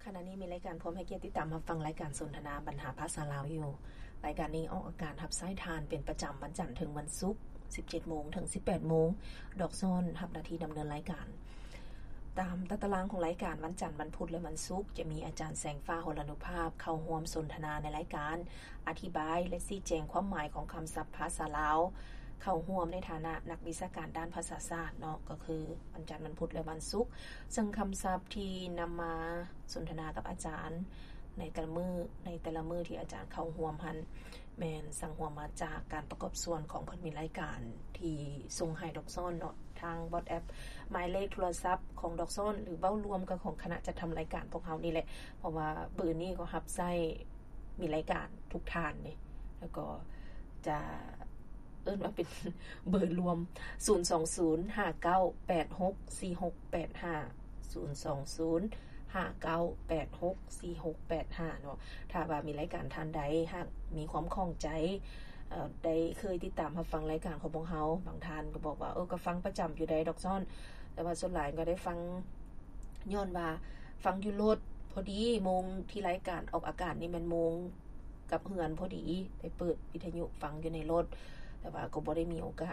ຂະນະນີ້ມີລາຍການ ພວມໃຫ້ກຽດຕິດຕາມຮັບຟັງລາຍການສົນທະນາບັນຫາພາສາລາວຢູ່. ລາຍການນີ້ອອກອາກາດຮັບສາຍທ່ານເປັນປະຈຳວັນຈັນເຖິງວັນສຸກ ສິບເຈັດໂມງເຖິງສິບແປດໂມງ. ດອກຊອນຮັບໜ້າທີ່ດຳເນີນລາຍການ. ຕາມຕາຕະລາງຂອງລາຍການ, ວັນຈັນ, ວັນພຸດ ແລະ ວັນສຸກ ຈະມີອາຈານແສງຟ້າ ຫົລານຸພາບ ເຂົ້າຮ່ວມສົນທະນາໃນລາຍການ, ອະທິບາຍ ແລະ ຊີ້ແຈງຄວາມໝາຍຂອງຄຳສັບພາສາລາວ, ເຂົ້າຮ່ວມໃນຖານະນັກວິຊາການດ້ານພາສາສາດເນາະ, ກໍຄືວັນຈັນ, ວັນພຸດ ແລະ ວັນສຸກ. ເຊິ່ງຄຳສັບທີ່ນຳມາສົນທະນາກັບອາຈານໃນແຕ່ລະມື້, ໃນແຕ່ລະມື້ທີ່ອາຈານເຂົ້າຮ່ວມຫັ້ນ ແມ່ນສັງຮວມມາຈາກການປະກອບສ່ວນຂອງເພິ່ນມີລາຍການທີ່ສົ່ງໃຫ້ດອກຊອນເນາະ ທາງ WhatsApp ໝາຍເລກໂທລະສັບຂອງດອກຊອນ ຫຼື ເວົ້າລວມກັບຂອງຄະນະຈັດທຳລາຍການພວກເຮົານີ້ແຫຼະ, ເພາະວ່າເບີນີ້ກໍຮັບໃຊ້ມີລາຍການທຸກທ່ານເດ້, ແລ້ວກໍຈະເອີ້ນວ່າເປັນເບີລວມ ສູນສອງສູນ ຫ້າເກົ້າແປດຫົກ ສີ່ຫົກແປດຫ້າ ສູນສອງສູນ ຫ້າເກົ້າແປດຫົກ ສີ່ຫົກແປດຫ້າເນາະ. ຖ້າວ່າມີລາຍການທ່ານໃດຫາກມີຄວາມຂ້ອງໃຈ ເອີ ໄດ້ເຄີຍຕິດຕາມຮັບຟັງລາຍການຂອງພວກເຮົາ, ບາງທ່ານກໍບອກວ່າ ເອີ ກໍຟັງປະຈຳຢູ່ໃດດອກຊອນ, ແຕ່ວ່າສ່ວນຫຼາຍກໍໄດ້ຟັງ ຍ້ອນວ່າຟັງຢູ່ລົດ, ພໍດີໂມງທີ່ລາຍການອອກອາກາດນີ້ແມ່ນໂມງກັບເຮືອນພໍດີ, ໄດ້ເປີດວິທະຍຸຟັງຢູ່ໃນລົດ, ແຕ່ວ່າກໍບໍ່ໄດ້ມີໂອກາດ